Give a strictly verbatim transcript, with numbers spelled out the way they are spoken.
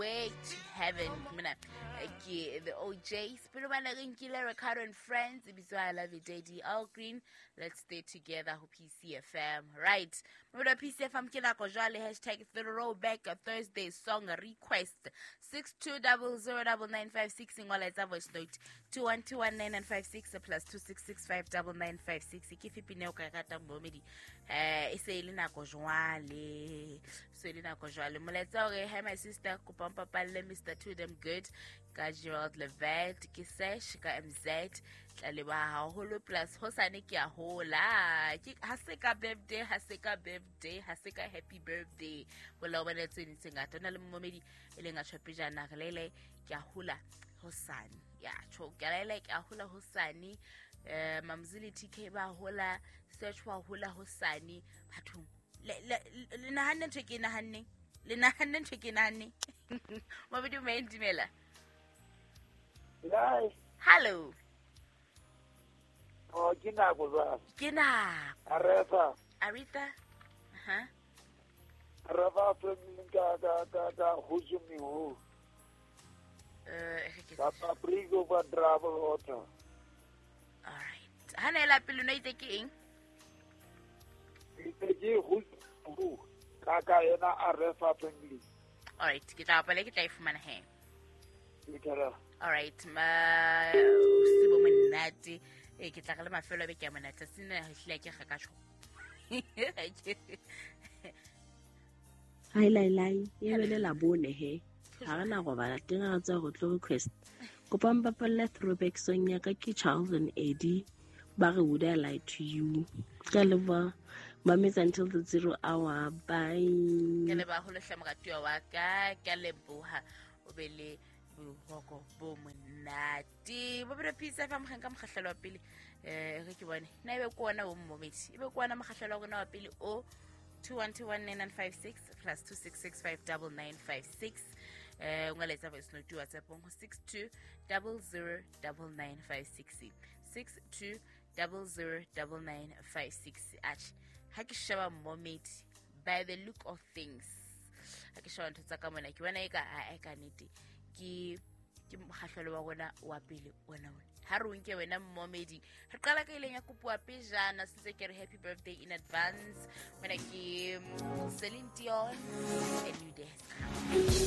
Highway to Heaven. Mona eh, ke the O Js. Pele bana re nkile Ricardo and Friends, e bitswa I Love You Daddy. All Green, Let's Stay Together ho P C F M. Right. Mona P C F M ke nako jwale hashtag throwback Thursday song request six two zero zero nine nine five six, ngola, etsa voice note two one two one nine nine five six plus two six six five nine nine five six. Ke fe pina o ka e ratang, momedi? Eh, e se e le nako jwale, se e le nako jwale. Molaetsa hore, "Hi my sister, kopa mpapalle Mister Too Damn Good ka Gerald Levert. Ke Sesh ka M Z, tla leboha haholo. Plus hosane ke a hola." Ke ha se ka birthday, ha se ka birthday, ha se ka happy birthday. Hola o bane tse ding tse ngata. O na le momedi e leng a tjho pejana re lele ke a hola hosane, ya tjho ke lele ke a hola hosane. eh Mamzili T K ba hola, Search wa hola hosane. Bathong, le le le nahanne ntho e ke e nahanneng, le nahanne ntho e ke e nahanneng. Mabedi o dumela. Lai, Hello. Oh, ke nako jwale. Ke nako. Aretha, Aretha, aha. Aretha Franklin ka ka ka ka Hujumi ho. eh re ke Ka Paprika ba Trouble Water. All right, ha na ela pele no itse ke eng? Ke ke Hujumi ho. Ka ka ena Aretha Franklin. All right, ke tla bapala, ke tla e fumana he. Ke tla. All right, ma se bo monate e ke tla re le mafelo a beke a monate sena hlile ke ga ka tjho. Hi lai lai, e bele la bone he. Ha re na robala teng, re tswa go tlo request. Kopa mpapalle throwback song ya ka, ke Charles and Eddie. Ba re "Would I Lie to You". Ka leboha. Mametse until the zero hour. Bye. Ke leboha haholo hle, moratuwa wa ka, ke a leboha, o be le boroko bo monate. Bophelo Peace F M, ka mokgahlelo wa pele um re ke bone na ebe ke ona o mmomedi, ebe ke ona mokgahlelo wa rona wa pele o two one two one nine nine five six plus two six six five nine nine five six. eh o nga letsa voice note WhatsApp ho six two zero zero nine nine five six, six two zero zero nine nine five six. Atjhe, ha ke sheba mmomedi, by the look of things, ha ke sheba ntho tsa ka mona, ke bona e ka a ka nnete ke ke mokgahlelo wa rona wa pele ona ona. Ha re o nke wena mmomedi, re qala ka ileng ya kopuwa pejana sentse ke re happy birthday in advance. Mona ke mm, Celine Dion, A New Day Has Come.